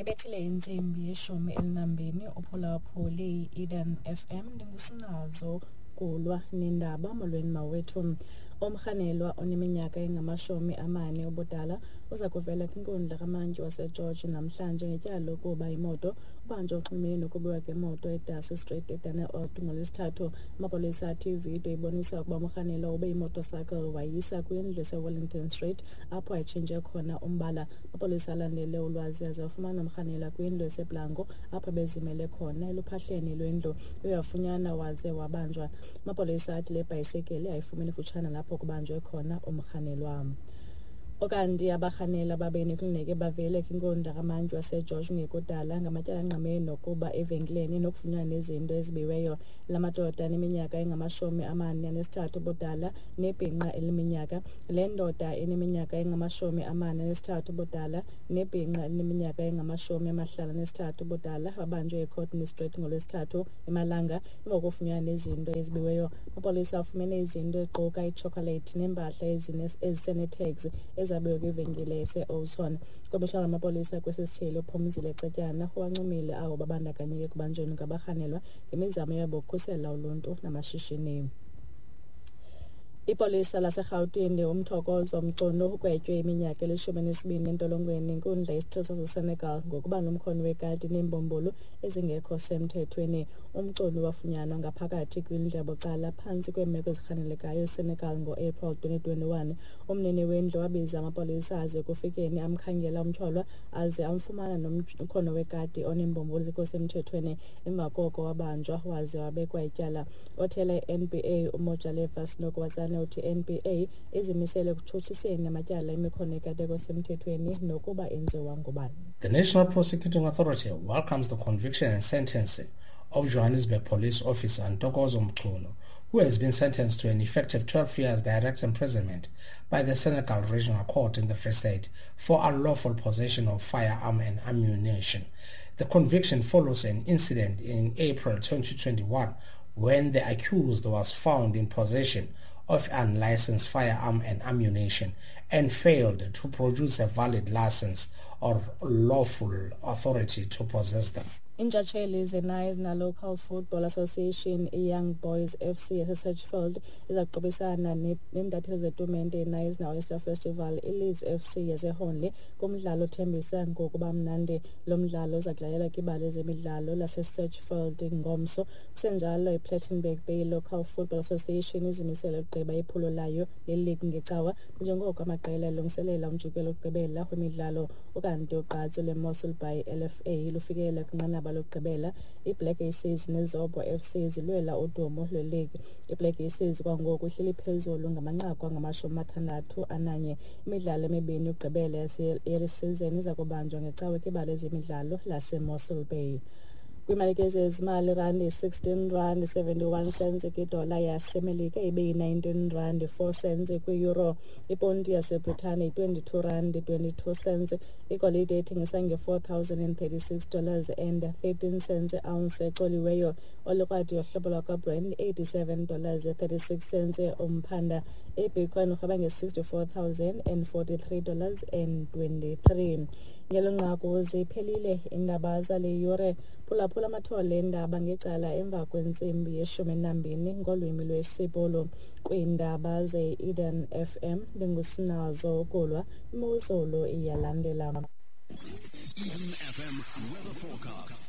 Ibethile intsimbi ye-12 uphulaphuli i-Eden FM. Ndingusinazo Kulwa nendaba. Molweni mawethu. Umrhanelwa oneminyaka engama-40 ubudala uza kuvela kwinkundla kamantyi waseGeorge namhlanje ngetyala lokuba imoto. Ubanjwe uxhumene nokubiwa kwemoto eDarcy Street eDunneold ngoLwesithathu. Amapolisa athi ividiyo ibonisa ukuba umrhanelwa ube imotocycle wayisa kwindlu eseWellington Street apho ayitshintshe khona umbala. Amapolisa alandele ulwazi aze afumana umrhanelwa kwindlu eseBlanco apho bezimele khona eluphahleni lwendlu. Uyafunyanwa waze wabanjwa. Amapolisa athi le bhayisekile ayifumene kufutshane nalapho kubanjwe khona umrhanelwa. Ukanti abarhanelwa ababini kufuneke bavele kwinkundla kamantyi waseGeorge ngekudala ngamatyala angqamene nokuba evenkileni nokufunyanwa nezinto ezibiweyo. La madoda aneminyaka engama-43 ubudala nebhinqa eliminyaka. Le ndoda eneminyaka engama-43 ubudala nebhinqa elineminyaka engama-53 ubudala babanjwe eCourtney Street ngoLwesithathu emalanga emva kokufunyanwa nezinto ezibiweyo. Amapolisa afumene izinto eziquka itshokolethi neempahla eziseneetags ezabiwe kwivenkile yaseOldtown. Komishana wamapolisa kwesi sithili uPhumzile Cetyana uwancomile abo babandakanyeke ekubanjweni kwabarhanelwa ngemizamo yabo yokukhusela uluntu namashishini. Ipolisa laseRhawutini uMthokozo Mchunu ugwetywe iminyaka eli-12 entolongweni yinkundla yesithili saseSenegal ngokuba nomkhono wekati neembumbulu ezingekho semthethweni. UMchunu wafunyanwa ngaphakathi kwindlu yabucala phantsi kweemeko ezirhanelekayo eSenegal ngo-April 2021. Umnini wendlu wabiza amapolisa aze ekufikeni amkhangela umtyholwa aze amfumana nomkhono wekati oneembumbulu ezingekho semthethweni. Emva koko wabanjwa waze wabekwa ityala. Othela i-NPA uMojalefa Senokoatsane uthi i-NPA izimisele ekutshutshiseni amatyala emikhono yekati engekho semthethweni nokuba enziwa ngubani. The National Prosecuting Authority welcomes the conviction and sentencing of Johannesburg police officer Ntokozo Mchunu, who has been sentenced to an effective 12 years direct imprisonment by the Senegal Regional Court in the Free State for unlawful possession of firearm and ammunition. The conviction follows an incident in April 2021 when the accused was found in possession of unlicensed firearm and ammunition and failed to produce a valid license or lawful authority to possess them. Iintshatsheli zeNational Local Football Association iYoung Boys FC yaseSedgefield iza kuqubisana neentatheli zetumente yeKnysna Oyster Festival iLeeds FC yaseHornley kumdlalo othembisa ngokuba mnandi. Lo mdlalo uza kudlalelwa kwibala lezemidlalo laseSedgefield ngomso. Kusenjalo, iPlettenberg Bay Local Football Association izimisele ukugqiba iphulo layo leligi ngeCawa njengoko amaqela elungiselela umjikelo wokugqibela wemidlalo. Ukanti ugqatso lweMossel Bay LFA lufikele kwinqanaba lokugqibela. IBlack Aces neZobho FC zilwela udumo lweligi. IBlack Aces kwangoku ihleli phezulu ngamanqaku angama-61. Imidlalo emibini yokugqibela yale sizeni iza kubanjwa ngeCawa kwibala lezemidlalo laseMossel Bay. Kwiimalike zezimali, irandi yi-16 rand 71 cents kwidola yaseMelika, ibe yi-19 rand 4 cents kwi-euro. Iponti yaseBritane yi-22 rand 22 cents. Igolide ithengisa nge-$4,036 dollars and 13 cents ounce ecoliweyo. Olukrwada yohlobo lwakwaBrent 87 dollars 36 cents umphanda. IBitcoin urhweba nge-$64,043 dollars and 23. Ngelo nqaku ziphelile iindaba zale yure. Phulaphula amathole eendaba ngecala emva kwentsimbi ye-12 ngolwimi lwesiBhulu. Kwiindaba ze-Eden FM ndingusinazo Kulwa. Imozulu iyalandela. Eden FM weather forecast.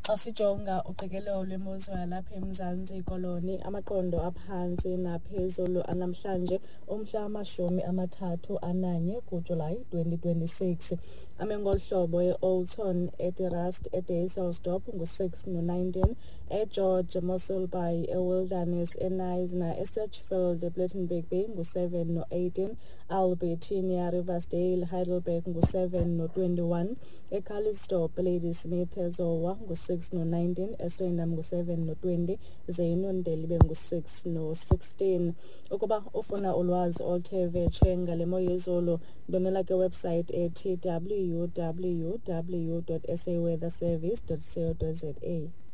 Xa sijonga uqikelelo lwemozulu yalapha eMzantsi Koloni, amaqondo aphantsi naphezulu anamhlanje umhla wama-31 kuJulayi 2026 ame ngolu hlobo: eOldtown, eDe Rust, eDysselsdorp ngu-6 no-19, eGeorge, Mossel Bay, eWilderness, eKnysna, eSedgefield, ePlettenberg Bay ngu-7 no-18, Albertinia, Riversdale, Heidelberg ngu-7 no-21, eCalitzdorp, Ladysmith, eZowa ngu-6 no-19, eSwellendam ngu-7 no-20, ze iNondeli ibe ngu-6 no-16. Ukuba ufuna ulwazi oluthe vetshe ngale mo yezulu, ndonela kwiwebsite ethi www.saweatherservice.co.za.